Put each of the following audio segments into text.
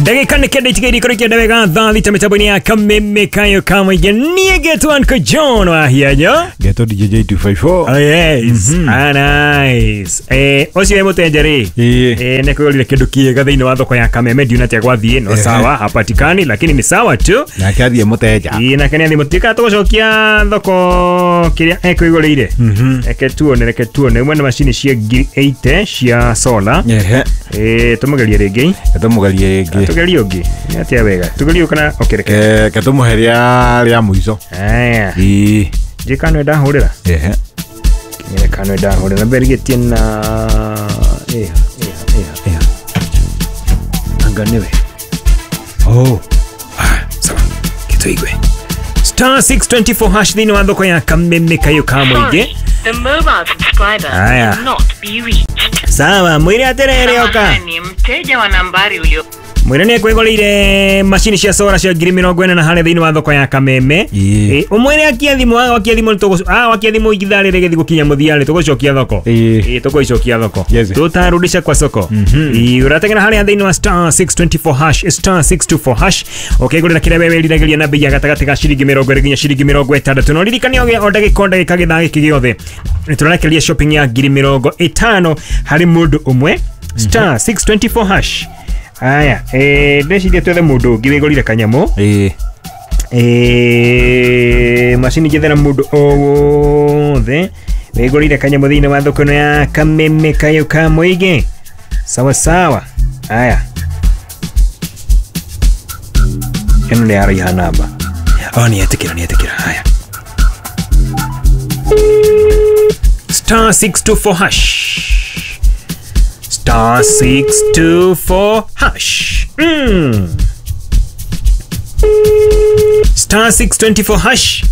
Ndagĩka nĩ kenda itigaire ikorwo ikĩenda wega thaa thita mĩtambo-inĩ ya kameme kayo ka mũingĩ. Niĩ ngetwo Uncle John wa Hianyo. Ngetwo DJ J254. Oh yes. Ah, nice. Ũcio wĩ mũtenja rĩ. Ĩĩ. Nĩ kwĩgũrire kĩndũ kĩega thĩinĩ wa thoko ya Kameme, ndiona atĩa gwathiĩ, no sawa, hapatikani lakini ni sawa tu. Nake athiĩ mũteja. Ĩĩ, nake nĩ athiĩ mũtuĩka tũgũcokia thoko kĩrĩa ekwĩgũrĩire. Reke tuone, reke tuone. Imwe nĩ macini cia ngiri 80 cia solar. Ehe. Tũmũgerie rĩngĩ. Ketũmũgerie rĩngĩ. Tugerie ũngĩ. Nĩ atĩa wega. Tugerie kana okay, reke. Ketũmũhe rĩa mũico. Aya. Ĩĩ. Njĩ kana ndahũrĩra. Ehe. Kinyere kana ndahũrĩra. Mberigetie na ĩha ĩha ĩha ĩha. Anga nĩwe. Oh. Ah, sawa. Kituigwe. Star 624 hash thĩinĩ wa thoko ya Kameme kayo ka mũingĩ. Sorry, the mobile subscriber Haya. cannot be reached. Sawa, mwĩre atĩrĩrĩ oka. Samahani, mteja wa nambari ulio Mwĩre nĩ ekwĩgũrĩire macini cia solar cia ngiri mĩrongo ĩna na harĩa thĩinĩ wa thoko ya Kameme. Ĩĩ. Ũmwĩre akie thimũ, wakia thimũ nĩtũgũ- wakia thimũ ithaa rĩrĩ rĩgĩthiĩ gũkinya mũthia rĩ, tũgũcokia thoko. Ĩĩ. Ĩĩ, tũgũicokia thoko. Yes. Tutarudisha kwa soko. Ĩĩ, ũrateng'era harĩa thĩinĩ wa star 624 hash, star 624 hash, ũkĩgũrĩra kĩrĩa we wĩriragĩria na bei ya gatagatĩ ga ciringi mĩrongo ĩrĩ nginya ciringi mĩrongo ĩtandatũ. Na ũririkane o ndagĩka o ndagĩka gĩthaa gĩkĩ gĩothe nĩ tũrarekereria shopping ya ngiri mĩrongo ĩtano harĩ mũndũ ũmwe, star 624 hash. Aya, ndĩreciria twethe mũndũ ũngĩ wĩgũrire kanyamũ. Ĩĩ. Macini njethera mũndũ o wothe wĩgũrĩire kanyamũ thĩinĩ wa thoko ĩno ya Kameme kayo ka mũingĩ. Sawa sawa. Aya, ĩno nĩ yaraiha namba. Oh, nĩ etĩkĩra, nĩ etĩkĩra. Haya, star 624 hash, star 624 hash. Star 624 hash.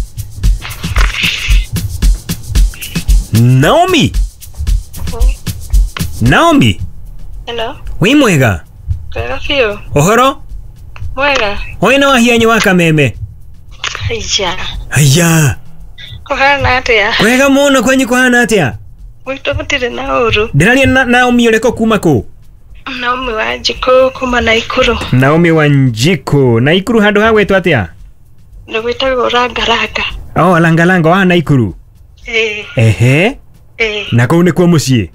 Naomi. Naomi, Hello, wĩ mwega? wega biũ. Ũhoro? Mwega. Ũyũ nĩ Wahianyi wa Kameme. Haiya. Haya, Kũhana atĩa? wega mũno, kwanyu kũhana atĩa? Gwitũ gũtirĩ na ũru. Ndĩraria na Naomi ũrĩkũ kuma kũ? Naomi wa Njikũ kuma Naikuru. Naomi wa Njikũ. Naikuru handũ ha gwĩtwo atĩa? Nĩ gwĩtagwo Rangaranga. Oh, Langalanga wa Naikuru. Ĩĩ, Ehe, ĩĩ. na kũu nĩkuo mũciĩ?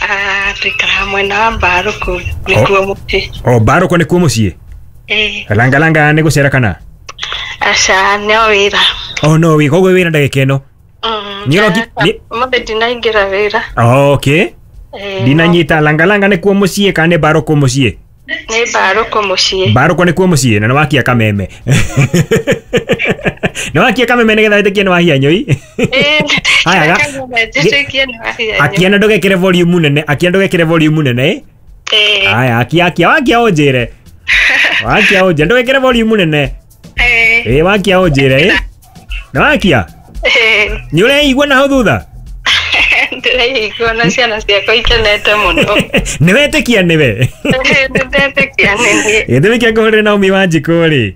Ah, tũikaraga mwena wa Mbarũkũ nĩkuo mũciĩ. Oh, Mbarũkũ nĩkuo mũciĩ? Ĩĩ. Langalanga nĩ gũcera kana? Aca, no wĩra. Oh, no wĩ koguo wĩra ndagĩka ĩno. Nĩ ũroki- Ũmũthĩ ndinaingĩra wĩra. Oh, okay. Ĩĩ, Ndinanyita Langalanga nĩkuo mũciĩ kana nĩ Mbarũkũ mũciĩ? Nĩ Mbarũkũ mũciĩ. Mbarũkũ nĩkuo mũciĩ na nĩ wakia Kameme. Nĩ wakia Kameme nĩgetha wĩtĩkie nĩ Wahianyũi. Ĩĩ, Haya, njĩtĩkie nĩ Wahianyũ. Akia na ndũgekĩre volume nene, akia ndũgekĩre volume nene. Ĩĩ. Aya, akia akia wakia ũnjĩre. Wakia ũnjĩre ndũgekĩre volume nene. Ĩĩ. Ĩĩ, wakia ũnjĩre ĩ. Nĩ wakia? Ĩĩ. Nĩ ũreigua na hau thutha? Ndĩraigua na ciana ciakwa ikenete mũno. Nĩ wetĩkia nĩwe? Nĩndetĩkia nĩ niĩ. Gĩtũmi kĩa ngũhũrĩre Naomi wa Njikũ rĩ,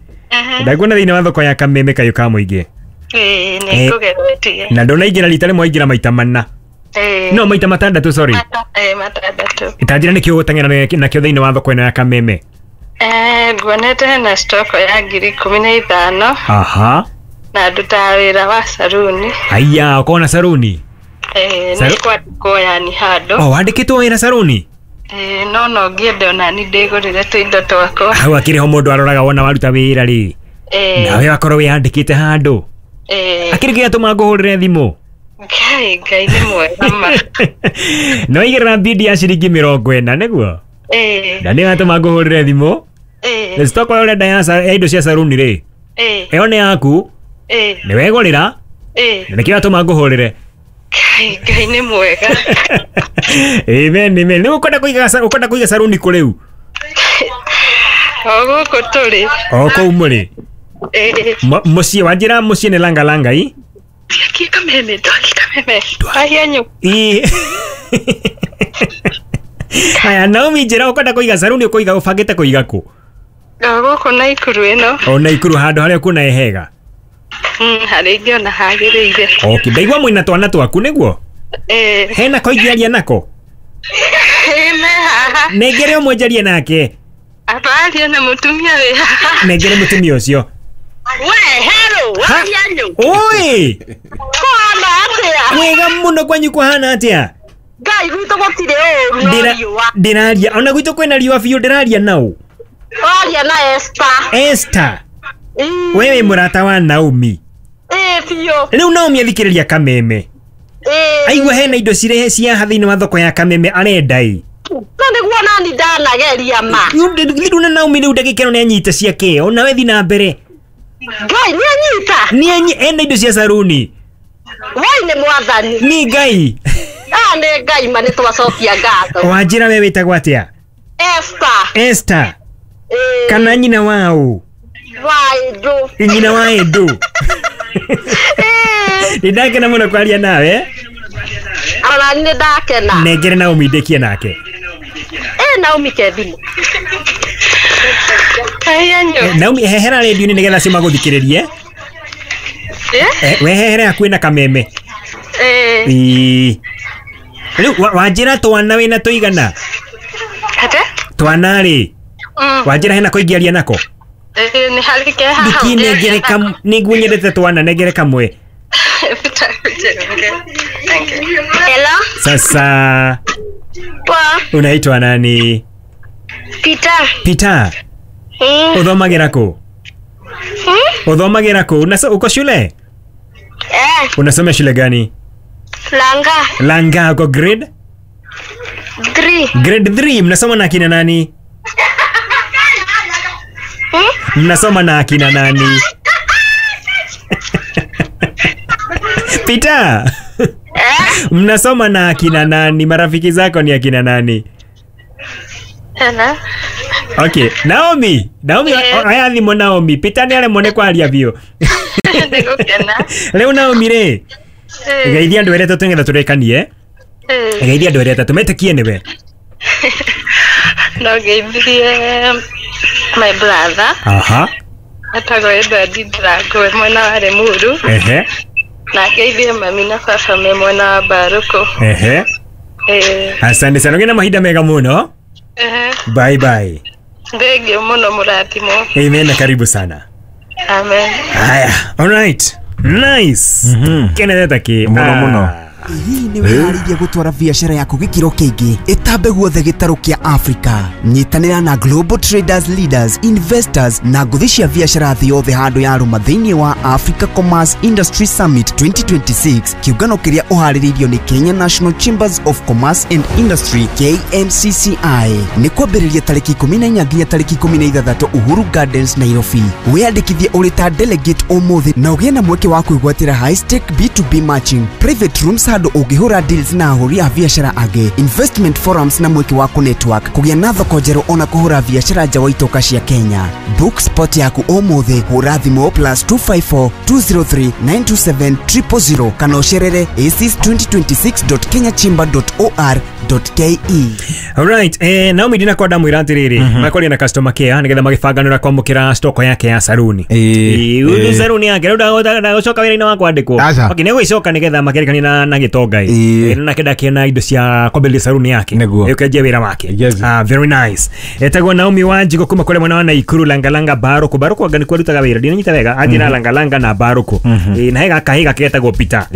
ndakuona thĩinĩ wa thoko ya Kameme kayũ ka mũingĩ. Ĩĩ, nĩ ngũgeretie. Na ndũnaingĩra rita rĩmwe, waingĩra maita mana. Ĩĩ. No maita matandatũ, sorry. Ĩĩ, matandatũ. Itanjĩra nĩkĩ ũgũteng'era nakĩo thĩinĩ wa thoko ĩno ya Kameme. Nguonete hena stoko ya ngiri ikũmi na ithano Aha. na ndutaga wĩra wa saruni. Aya, ũkona saruni? Ĩĩ, nĩ kwandĩkwo yani handũ. Oh, wandĩkĩtwo wĩra saruni? Ĩĩ, no no ngĩende onani ndĩgũrĩre tũindo twakwa. Hau akĩrĩ ho mũndũ aroraga wona waruta wĩra rĩ. Ĩĩ. Nawe wakorwo wĩyandĩkĩte handũ. Ĩĩ. Akĩrĩ kĩrĩa tũma ngũhũrĩre thimũ. Ngai, Ngai nĩ mwega ma. Nĩ waigĩrĩra bidi ya ciringi mĩrongo ĩna nĩguo? Ĩĩ. Na nĩ watũma ngũhũrĩre thimũ. Ĩĩ. Na stoko ĩyo ũrenda ya indo cia saruni rĩ. Ĩĩ. Ĩyo nĩ yaku. Ĩĩ. Nĩ wegũrĩra. Ĩĩ. Na nĩkĩo watũma ngũhũrĩre. Ngai, Ngai nĩ mwega. Amen, amen. Rĩu ũkwenda kũiga ũkwenda kũiga saruni kũ rĩu? O gũkũ tũrĩ. O kũu mũrĩ. Ĩĩ. Mũciĩ wanjĩra mũciĩ nĩ Langalanga i? Twakie Kameme, twakie Kameme. Wahianyũ. Ĩ. Haya, Naomi njĩra ũkwenda kũiga saruni ũkũiga ũbangĩte kũiga kũ? O gũkũ Naikuru ĩno. O Naikuru handũ harĩa kuona ĩ hega. Harĩa ingĩona hagĩrĩire. Okay, ndaigua mwĩna twana twaku nĩguo? Ĩĩ. Hena ko ingĩaria nako? Ĩĩ, me haha. Nengere ũmwe njarie nake. Abaria na mutumia we. Nengere mutumia ucio. We, hello, wayanyu. Oi! Kwana atia? Wega muno kwanyu kuhana atia? Ngai gwitũ gũtirĩ ũru no riũa. Ndĩraria ona gwitũ kwĩna riũa biũ ndĩraria nau. Waria na Esther. Esther. Wewe mũrata wa Naomi. Ĩĩ biũ. Rĩu Naomi athikĩrĩria Kameme. Ĩĩ. Aigua hena indo cirehe cia haha thĩinĩ wa thoko ya Kameme arenda ĩ. No nĩguo nani ndanageria ma. Rĩu na Naomi rĩu ndagĩka ĩno nĩanyita ciake ona we thiĩ na mbere. Ngai nĩanyita. Nĩanyi ena indo cia saruni. Wai nĩ mwathani. Nĩ Ngai. Ah nĩ Ngai ma nĩtwacokia ngatho. Wanjĩra we wĩtagwo atĩa? Esther. Esther. Kana nyina wao? Wa Edu. Nyina wa Edu. Nĩndakena mũno kwaria nawe. Ona nĩ ndakena. Nengere Naomi ndĩkie nake. Naomi ke thimũ. Naomi hehera radio-inĩ nĩgetha acio magũthikĩrĩrie. We hehere hakuhĩ na Kameme. Rĩu wanjĩra twana wĩna tũigana? Ate? Twana rĩ? Wanjĩra hena kũingĩaria nako? Nĩ harĩ ke haha. Ndikinengere nĩguo nyendete twana nengere kamwe. Hello? Sasa. Poa. Unaitwa nani? Peter. Peter. Uthomagira kũ? Uthomagira kũ? Uko shule? Unasoma shule gani? Langa. Langa, uko grade? 3. Grade 3. Mnasoma na akina nani? Mnasoma na akina nani? Peter. Mnasoma na akina nani? Marafiki zako ni akina nani? Hello. Okay, Naomi. Naomi, aya thimũ Naomi. Peter nĩ aremwo nĩ kwaria biũ. Rĩu Naomi rĩ, geithia andũ erĩ atatũ nĩgetha tũrĩkanie. Geithia andũ erĩ atatũ metĩkie nĩwe. No ngeithirie my brother. Aha. Etagwo Edward Ndirango mwena wa Limuru. Ehe. Na ngeithie mami na baba me mwena wa Mbaruku. Ehe. Asante sana. Ũgĩe na mahinda mega mũno. Bye bye. Thank you muno mũrathimwo. Amen, karibu sana. Amen. Haya, all right. Nice. Kenetha ki. Muno muno. Hihi nĩ wĩharĩirie gũtwara biacara yaku gĩkĩro kĩngĩ ĩtambe guothe gĩtarũ kĩa Africa? Nyitanĩra na Global Traders Leaders, Investors na ngũthi cia biacara thĩ yothe handũ ya rũma thĩinĩ wa Africa Commerce Industry Summit 2026, kĩũngano kĩrĩa ũharĩrĩirio nĩ Kenya National Chambers of Commerce and Industry KNCCI. Nĩ kwambĩrĩria tarĩki 14 nginya tarĩki 16 Uhuru Gardens, Nairobi. Wĩyandĩkithie ũrĩ ta delegate ũmũthĩ na ũgĩe na mweke wa kwĩgwatĩra high stake B2B matching, private rooms handũ ũngĩhũra deals na ahũri a biacara angĩ, investment forums na mweke wa kũ-network, kũgĩa na thoko njerũ ona kũhũra biacara nja wa itoka cia Kenya. Book spot yaku ũmũthĩ, hũra thimũ +254 203 927 000 kana ũcerere aces2026.kenyachamber.or.ke. Alright, Naomi ndina kwenda mwĩra atĩrĩrĩ, makwaria na customer care nĩgetha magĩbanganĩra kwamũkĩra stock yake ya saruni. Ĩ saruni yake rĩu ndagũcoka wĩra-inĩ wa kwandĩkwo. Okay, nĩgũgĩcoka nĩgetha makerekanie na gĩtonga ĩ. Na kenda kĩna indo cia kwambĩrĩria saruni yake. Ĩũkenjia wĩra wake. Very nice. Etagwo Naomi Wanjigo kuma kũrĩa mwena wa Naikuru, Langalanga Baruku. Baruku anga nĩkuo arutaga wĩra. Ndinanyita wega, athiĩ na Langalanga na Baruku. Na he gakahĩ gake getagwo Peter.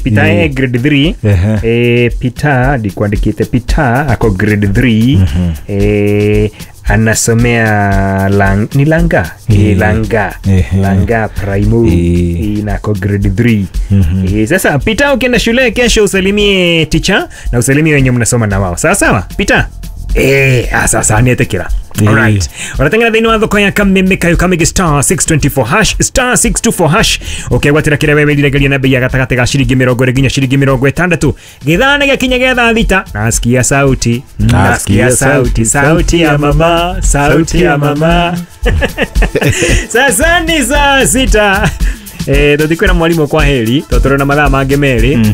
Peter e grade 3. Peter ndikwandĩkĩte Peter ako grade 3. Anasomea ni Langa. Langa. Langa Primo. Na ako grade 3. Sasa Peter ukienda shule kesho usalimie teacher na usalimie wenye mnasoma na wao. Sawa sawa Peter? Sasa nietekera. Alright. Uratengera thĩinĩ wa thoko ya Kameme kayo Kamege star 624 hash star 624 hash. Okay, gwatĩra kĩrĩa wewe wĩriragĩria na bei ya gatagatĩ ga shilingi 20 nginya shilingi 60. Gĩthaa nĩ gĩakinya gĩa thaa thita. Nasikia sauti. Nasikia sauti. Sauti ya mama. Sauti ya mama. Sasa ni saa sita. Tũtikwĩra mwarimũ kwa heri tondũ tũrĩ na mathaa mangĩ merĩ.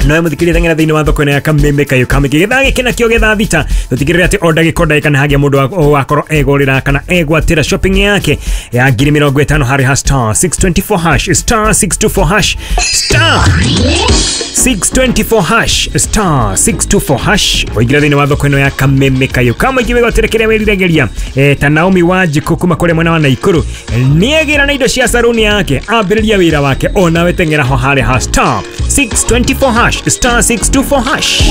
Nowe mũthikĩrĩria, teng'era thĩinĩ wa thoko ĩno ya Kameme Kayo Kamĩngĩ gĩthaa gĩkĩ nakĩo gĩthaa 6, tũtigĩrĩre atĩ o ndagĩka o ndagĩka nĩ hagĩa mũndũ wakorwo egũrĩra kana egwatĩra shopping yake ya 50,000 harĩ ha star 624 hash, star 624 hash, star 624 hash, star 624 hash. Waingĩra thĩinĩ wa thoko ĩno ya Kameme Kayo Kamũingĩ, wĩgwatĩre kĩrĩa wĩriragĩria. Ta Naomi Wanjikũ kuma kũrĩa mwena wa Naikuru nĩegĩra na indo cia saruni yake, ambĩrĩria wĩra wake. Onawe teng'era ho harĩ ha star 624 hash, star 624 hash.